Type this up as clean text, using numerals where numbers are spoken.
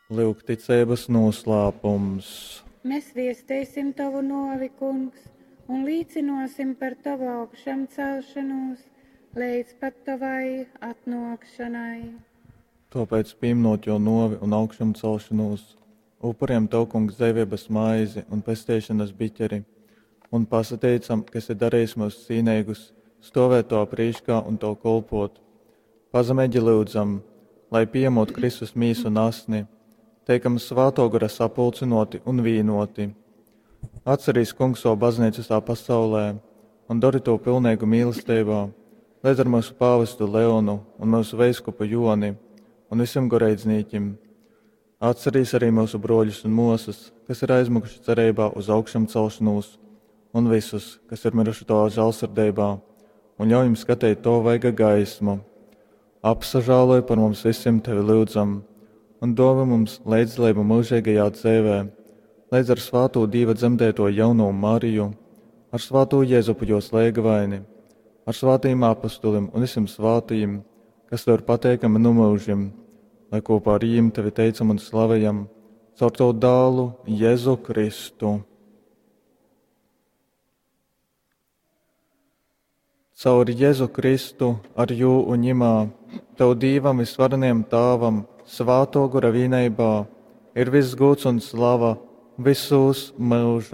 Lyuk ticeibas nūslāpums. Mēs viesteisim Tovu nōvi, Kungs, un līcynōsim par Tovu augšamcelšonūs leidz pat Tovai atnōkšanai. Tōpēc, pīminot jō nōvi un augšamcelšanūs, upurējam Tev, Kungs, dzeiveibas maizi un pesteišonas biķeri, un pasateicam, ka esi darījis myus cīneigus stovēt Tavā prīškā un Tev kolpot. Pazemeigi lyudzam, lai pījemot Kristus mīsu un asni, teikam Svātō Gora sapulcynōti un vīnōti. Atcerīs, Kungs, savu baznīcu visā pasaulē un dori to pilneigu mīlestībā, līdz ar mūsu pāvestu Leonu un mūsu veiskupu Joni un visiem goreidznīkim. Atcerīs arī mūsu brōļus un mosas, kas ir aizmukuši cerībā uz augšamcelšanos, un visus, kas ir miruši Tavā žālsirdībā, un ļauj jums skatīt Tavu vaiga gaismu. Apsažāloj par mums visiem Tevi lyudzam, un dāvā mums līdzdalību mūžīgajā dzīvē, līdz ar svāto Dieva dzemdēto jauno Mariju, ar svāto Jēzupu jos lēgavaini, ar svātajiem apustulim un visiem svātajiem, kas tev ir pateikami nu mūžim, lai kopā ar viņiem tevi teicam un slavējam, caur tavu dālu Jēzu Kristu. Caur Jēzu Kristu, ar jū un ņimā, tev Dīvam visvarenajam Tāvam, svāto gora vienībā, ir viss gods un slava visos mūžu.